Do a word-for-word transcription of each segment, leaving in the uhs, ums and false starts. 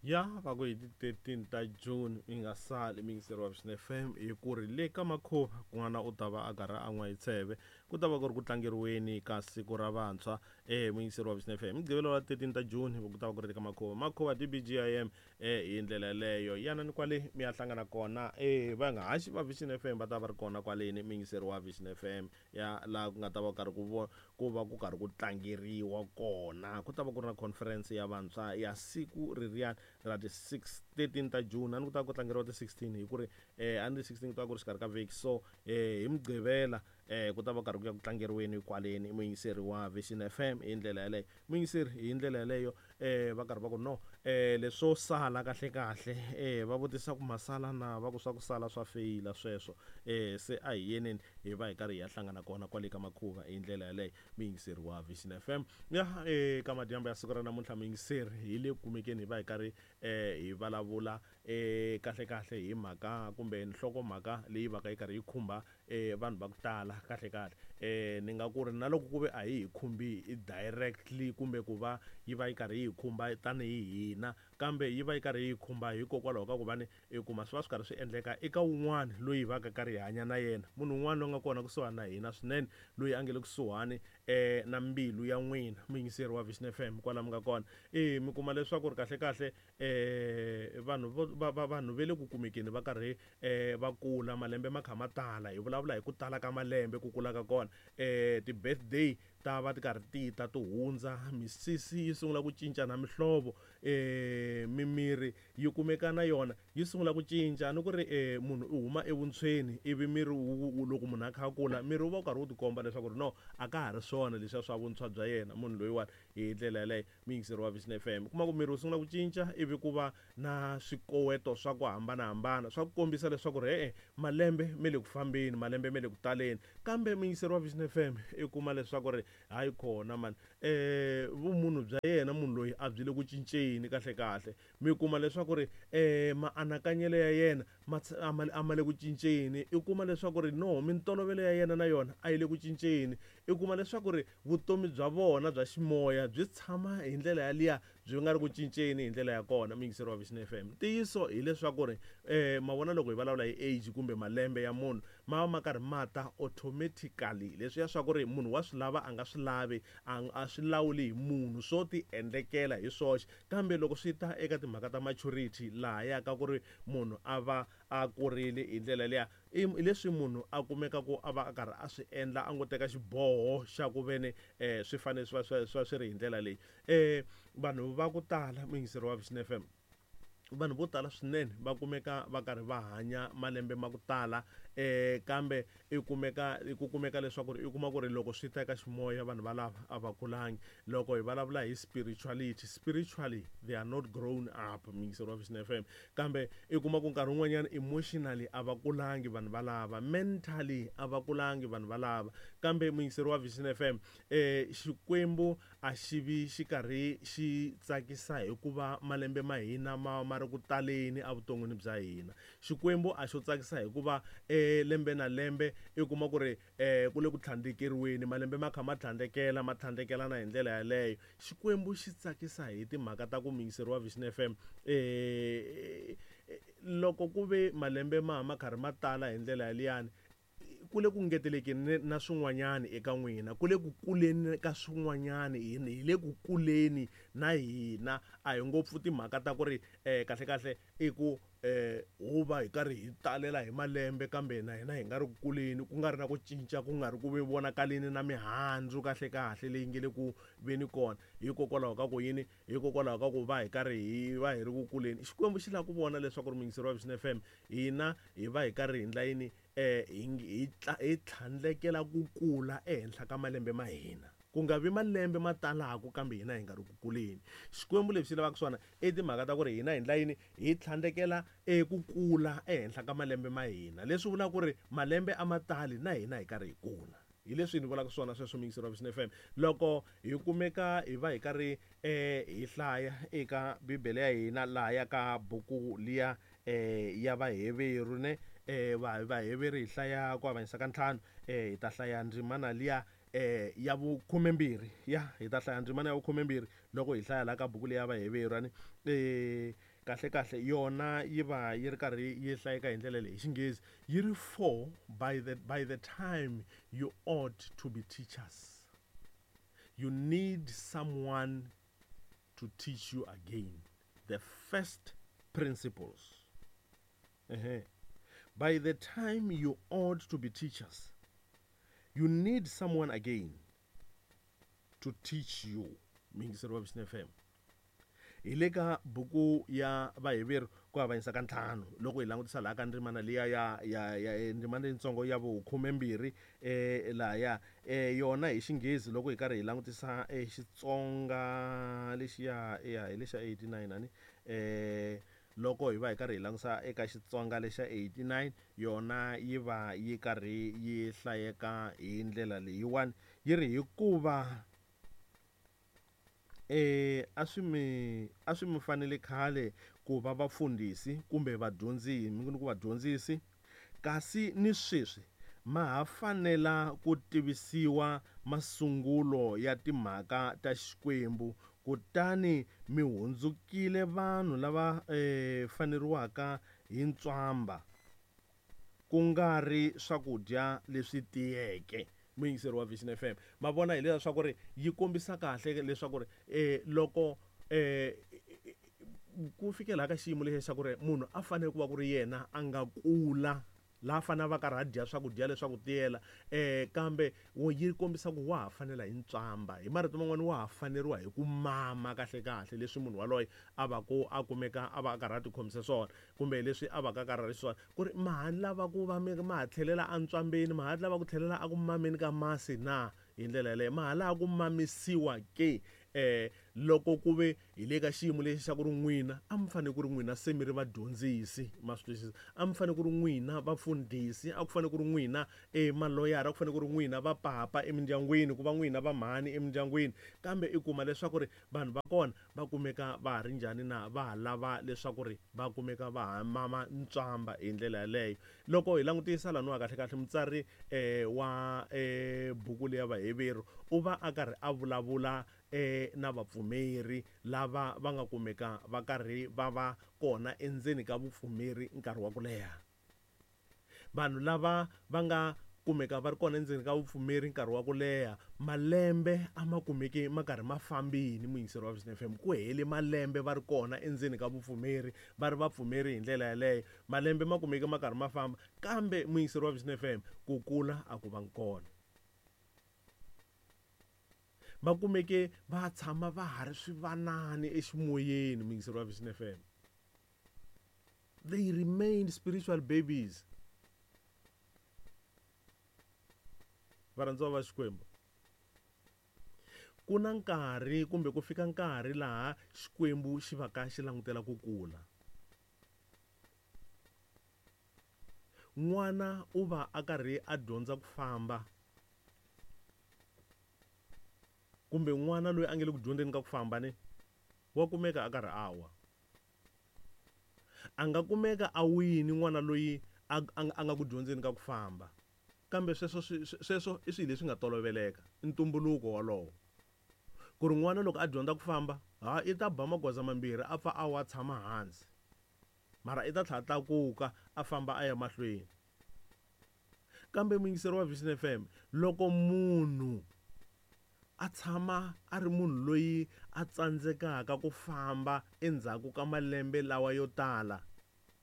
Ya va ku hi ti thirteen ta June mi nga sali mi yingiseri wa Vision F M hi ku ri le ka Makhuva kun'wana u ta va a karhi a n'wa hi tsheve ku ta va ku ri ku tlangeriweni ka siku ra vantshwa eh muyingiseri wa Vision F M Mugqivela wa thirteen ta June ku ta va ku ri ka Makhuva Makhuva D B G I M eh hi ndlela yeleyo yanani kwale mi ya hlangana kona eh va nga haxi va Vision F M va ta va ri kona kwaleni muyingiseri wa Vision F M ya laha ku nga ta va karhi ku vo ku va ku karhi ku tlangeriwa kona ku ta va ku ri na conference ya vantshwa ya siku reriyani ra ti six thirteen ta June ani ku ta ku tlangeriwa ti sixteen hi ku ri eh ani ti sixteen ku ta ku ri xikarhi ka vhiki so eh hi Mugqivela eh ku ta va karhi ku ya ku tlangeriweni kwaleni muyingiseri wa Vision F M hi ndlela yaleyo muyingiseri hi ndlela yaleyo eh va karhi va ku no eh leswo sala kahle kahle eh va vutisa ku masala na va ku swa ku sala swa feyila sweswo eh se a hi yeneni hi va hi karhi hi ya hlangana kona kwale ka Makhuva hi ndlela yaleyo muyingiseri wa Vision F M ya eh ka madyambu ya siku ra namuntlha muyingiseri hi le kumekeni hi va hi karhi eh hi vulavula eh kahle kahle hi mhaka kumbe nhlokomhaka leyi va ka yi karhi yi khumba eh vanhu va ku tala kahle kahle eh ni nga ku ri na loko ku ve a hi hi khumbi directly kumbe ku va yi va yi karhi yi khumba tanihi hina kambe yi va yi karhi yi khumba hikokwalaho ka ku va ni i kuma swi va swi karhi swi endleka eka wun'wana loyi va ka karhi hi hanya na yena munhu un'wana loyi nga kona kusuhani na hina swinene loyi a nge le kusuhani eh na mbilu ya n'wina muyingiseri wa Vision F M kwala mi nga kona eh mi kuma leswaku ri kahle kahle eh vanhu vo va vanhu ve le ku kumekeni va karhi eh va kula malembe ma kha ma tala hi vulavula hi ku tala ka malembe ku kula ka kona eh ti birthday ta va ti karhi ti ta ti hundza misisi yi sungula ku cinca na mihlovo eh mimiri yi kumeka na yona yi sungula ku cinca ni ku ri eh munhu u huma evuntshweni ivi miri loko munhu a kha a kula miri wu va wu karhi wu tikomba leswaku ri no a ka ha ri swona leswiya swa vuntshwa bya yena munhu loyiwani hi ndlela yaleyo muyingiseri wa Vision F M kuma ku miri wu sungula ku cinca ivi ku va na swikoweto swa ku hambanahambana swa ku kombisa leswaku ri e-e malembe me le ku fambeni malembe me le ku taleni kambe muyingiseri wa Vision F M i kuma leswaku ri hayi khona mani eh vumunhu bya yena munhu loyi a byi le ku cinceni kahle kahle mi kuma leswaku ri eh maanakanyelo ya yena a ma le ku cinceni i kuma leswaku ri no mintolovelo ya yena na yona a yi le ku cinceni i kuma leswaku ri vutomi bya vona bya ximoya byi tshama hi ndlela yaliya byi nga ri ku cinceni hi ndlela ya kona muyingiseri wa Vision F M ntiyiso hileswaku ri eh ma vona loko hi vulavula hi age kumbe malembe ya munhu ma va ma karhi ma ta automatically leswiya swa ku ri munhu wa swi lava a nga swi lavi a swi lawuli hi munhu swo ti endlekela hi swoxe kambe loko swi ta eka timhaka ta maturity laha ya ka ku ri munhu a va a kurile hi ndlela liya i leswi munhu a kumeka ku a va a karhi a swi endla a ngo teka xiboho xa ku veni eh swi fanele swi va swi swi ri hi ndlela leyi eh vanhu va ku tala muyingiseri wa Vision F M vanhu vo tala swinene va kumeka va karhi va hanya malembe ma ku tala eh kambe i kumeka ku kumeka leswaku ri i kuma ku ri loko swi ta eka ximoya vanhu valava a va kulangi loko hi vulavula hi spirituality spiritually they are not grown up muyingiseri wa Vision F M kambe i kuma ku nkarhi wun'wanyana emotionally a va kulangi vanhu valava mentally a va kulangi vanhu valava kambe muyingiseri wa Vision F M eh Xikwembu a xi vi xi karhi xi tsakisa hikuva malembe ma hina ma ma ri ku taleni evuton'wini bya hina Xikwembu a xo tsakisa hikuva eh lembe na lembe i kuma ku ri eh ku le ku tlhandlekeriweni malembe ma kha ma tlhandlekela ma tlhandlekelana hi ndlela yaleyo Xikwembu xi tsakisa hi timhaka ta ku muyingiseri wa Vision F M eh loko ku ve malembe ma ma karhi ma tala hi ndlela yaliyani ku le ku ngetelekeni na swin'wanyani eka n'wina ku le ku kuleni ka swin'wanyani hi le ku kuleni na hina a hi ngopfu timhaka ta ku ri eh kahle kahle i ku eh ho va hi karhi hi talela hi malembe kambe na hina hi nga ri ku kuleni ku nga ri na ku cinca ku nga ri ku ve vonakaleni na mihandzu kahle kahle leyi nge le ku veni kona hikokwalaho ka ku yini hikokwalaho ka ku va hi karhi hi va hi ri ku kuleni Xikwembu xi lava ku vona leswaku ri muyingiseri wa Vision F M hina hi va hi karhi hi ndla yini eh hi hi tlhandlekela ku kula ehenhla ka malembe ma hina ku nga vi malembe ma talaku kambe hina hi nga ri ku kuleni Xikwembu lexi xi lavaka swona i timhaka ta ku ri hina hi ndla yini hi tlhandlekela eku kula ehenhla ka malembe ma hina leswi vulaka ku ri malembe a ma tali na hina hi karhi hi kula hi leswi ni vulaka swona sweswo muyingiseri wa Vision F M loko hi kumeka hi va hi karhi eh hi hlaya eka Bibele ya hina laha ya ka buku liya eh ya Vaheveru ne eh va Vaheveru hi hlaya ku avanyisa ka ntlhanu eh hi ta hlaya ndzimana liya eh ya vukhumembirhi ya hi ta hlaya ndzimana ya vukhumembirhi loko hi hlaya laha ka buku leyi ya Vaheveru ani eh kahle kahle yona yi va yi ri karhi yi hlayeka hi ndlela leyi hi Xinghezi yi ri for by the by the time you ought to be teachers, you need someone to teach you again the first principles. Uh-huh. By the time you ought to be teachers, you need someone again to teach you. Muyingiseri wa Vision F M, hi le ka buku ya Vaheveru ku avanyisa ka ntlhanu, loko hi langutisa laha ka ndzimana liya ya ya ya ndzimana leyitsongo ya vukhumembirhi eh lahaya eh yona hi Xinghezi, loko hi karhi hi langutisa eh Xitsonga lexiya ya hi lexa eighty-nine ani eh loko hi va hi karhi hi langutisa eka Xitsonga lexa eighty-nine, yona yi va yi karhi yi hlayeka hi ndlela leyiwani, yi ri hikuva eh a swi mi a swi mi fanele khale ku va vafundhisi kumbe vadyondzisi, mi ku vadyondzisi, kasi ni sweswi ma ha fanela ku tivisiwa masungulo ya timhaka ta Xikwembu, kutani mi hundzukile vanhu lava eh faneriwaka hi ntswamba, ku nga ri swakudya leswi tiyeke. Muyingiseri wa Vision F M, ma vona hi leswaku ri yi kombisa kahle leswaku ri eh loko eh ku fikela ka xiyimo lexi xa ku ri munhu a fanele ku va ku ri yena a nga kula laha fanele va karhi a dya swakudya leswaku tiyela eh kambe yi kombisa ku wa ha fanela hi ntswamba, hi marito man'wani wa ha faneriwa hi ku mama kahle kahle leswi munhu waloye a va ku a kumeka a va a karhi a tikhomisa swona, kumbe leswi a va ka karhi ri swona, ku ri ma ha lava ku va ma ha tlhelela entswambeni, ma ha lava ku tlhelela a ku mameni ka masi na hi ndlela yaleyo, ma ha lava ku mamisiwa ke eh loko ku ve hi le ka xiyimo lexi xa ku ri n'wina a mi fanele ku ri n'wina se mi ri vadyondzisi, ma swi twisisa, a mi fanele ku ri n'wina vafundhisi, a ku fanele ku ri n'wina e maloyara, a ku fanele ku ri n'wina vapapa emindyangwini, ku va n'wina vamhani emindyangwini, kambe i kuma leswaku ri vanhu va kona va kumeka va ha ri njhani na, va ha lava leswaku ri va kumeka va ha mama ntswamba hi ndlela yaleyo. Loko hi langutisa laniwa kahle kahle mutsari eh wa eh buku leya Vaheveru u va a karhi a vulavula eh na vapfumeri lava va nga kumeka va karhi va va kona endzeni ka vupfumeri nkarhi wa ku leha. Vanhu lava va nga kumeka va ri kona endzeni ka vupfumeri nkarhi wa ku leha, malembe a ma kumeki ma karhi ma fambini, muyingiseri wa Vision F M, ku hele malembe va ri kona endzeni ka vupfumeri, va ri vapfumeri hi ndlela yaleyo, malembe ma kumeki ma karhi ma famba, kambe muyingiseri wa Vision F M, ku kula a ku va kona. Va kumeke va tshama va ha ri swivanani eximoyeni, muyingiseri wa Vision F M. They remained spiritual babies. Varhandziwa va Xikwembu, ku na nkarhi kumbe ku fika nkarhi laha Xikwembu xi va ka xi langutela ku kula. N'wana u va a karhi a dyondza ku famba, kumbe n'wana loyi a nge le ku dyondzeni ka ku famba ni wa kumeka a karhi a wa. A nga kumeka a wini n'wana loyi a, a, a nga ku dyondzeni ka ku famba, kambe sweswo swi, sweswo i swilo leswi nga toloveleka, i ntumbuluko wolowo. Ku ri n'wana loko a dyondza ku famba, ha i ta ba magoza mambirhi a pfa a wa tshama hansi, mara i ta tlhela tlakuka a famba a ya mahlweni. Kambe muyingiseri wa Vision F M, loko munhu a tshama a ri munhu loyi a tsandzekaka ku famba endzhaku ka malembe lawa yo tala,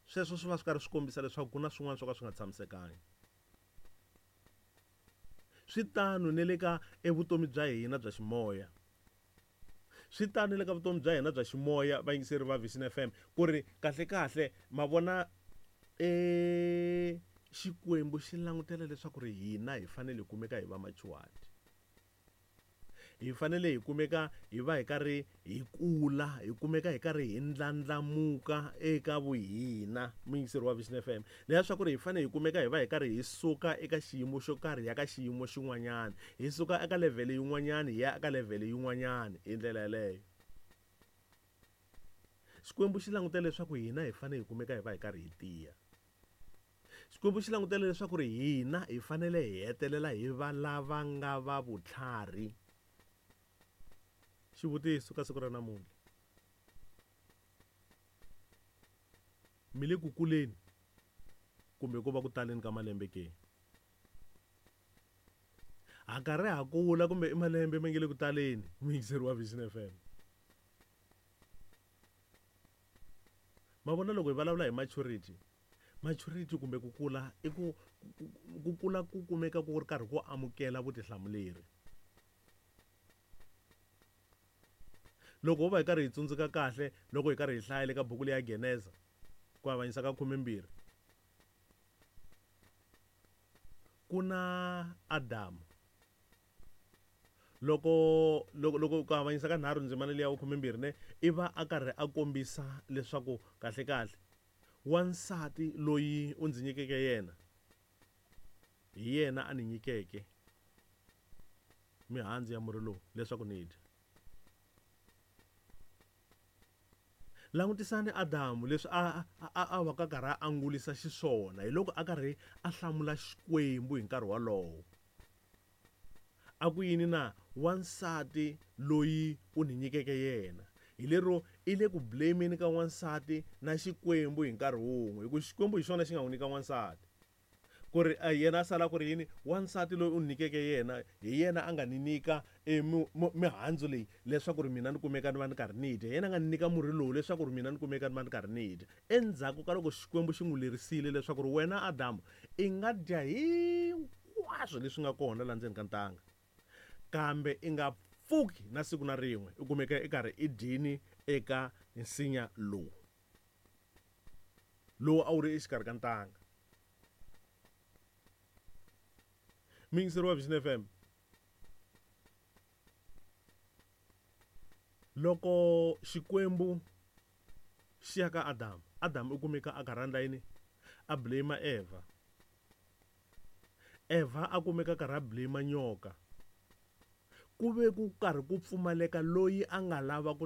sweswo swi va swi karhi swi kombisa leswaku ku na swin'wana swo ka swi nga tshamisekangi. Swi tano ne le ka evutomi bya hina bya ximoya. Swi tano ne le ka vutomi bya hina bya ximoya, vayingiseri va Vision F M, ku ri kahle kahle ma vona e Xikwembu xi langutela leswaku ri hina hi fanele hi kumeka hi va machuwati. Hi fanele hi kumeka hi va hi karhi hi kula, hi kumeka hi karhi hi ndlandlamuka eka vuhina, muyingiseri wa Vision F M. Leswaku ri hi fanele hi kumeka hi va hi karhi hi suka eka xiyimo xo karhi ya ka xiyimo xin'wanyana, hi suka eka level yin'wanyana hi ya eka level yin'wanyana hi ndlela yaleyo. Xikwembu xi langutele leswaku hina hi fanele hi kumeka hi va hi karhi hi tiya. Xikwembu xi langutele leswaku ri hina hi fanele hi hetelela hi va lava nga va vutlhari. Xivutiso ka siku ra namuntlha, Mi le ku kuleni kumbe ko va ku taleni ka malembe ke? Ha karhi ha kula kumbe i malembe ma nge le ku taleni, muyingiseri wa Vision F M. Ma vona loko hi vulavula hi maturity, maturity kumbe ku kula i ku, ku kula ku kumeka ku ri karhi ku amukela vutihlamuleri. Loko ho va hi karhi hi tsundzuka kahle loko hi karhi hi hlaya le ka buku leya Geneza ku avanyisa ka khumembirhi, ku na Adamu. Loko, loko, loko ku avanyisa ka nharhu ndzimana leya khumembirhi ne, i va a karhi a kombisa leswaku kahle kahle wansati loyi u ndzi nyikeke yena hi yena a ni nyikeke mihandzu ya murhi lowu leswaku ni dya. Langutisani Adamu leswi a, a, a, a va ka karhi a angulisa xiswona hi loko a karhi a hlamula Xikwembu hi nkarhi wolowo. A ku yini na wansati loyi u ni nyikeke yena? Hi lero i le ku blameni ka wansati na Xikwembu hi nkarhi wun'we, hi ku Xikwembu hi xona xi nga n'wi nyika wansati. Ku ri, eh, yena a sala ku ri yini? Wansati loyi u ni nyikeke yena hi yena a nga ni nyika, eh, mi-, mi-, mihandzu leyi leswaku ri mina ni kumeka ni va ni karhi ni dya. Yena a nga ni nyika murhi lowu leswaku ri mina ni kumeka ni va ni karhi ni dya. Endzhaku ka loko Xikwembu xi n'wi lerisile leswaku ri wena Adamu i nga dya hinkwaswo leswi nga kona laha ndzeni ka ntanga, kambe i nga pfuki na siku na rin'we u kumeka i karhi i dyini eka nsinya lowu, lowu a wu ri exikarhi ka ntanga. Muyingiseri wa Vision F M, loko Xikwembu xi ya ka Adamu, Adamu u kumeka a karhi a endla yini? A blame Eva. Eva a kumeka a karhi a blame nyoka. Ku ve ku karhi ku pfumaleka loyi a nga lava ku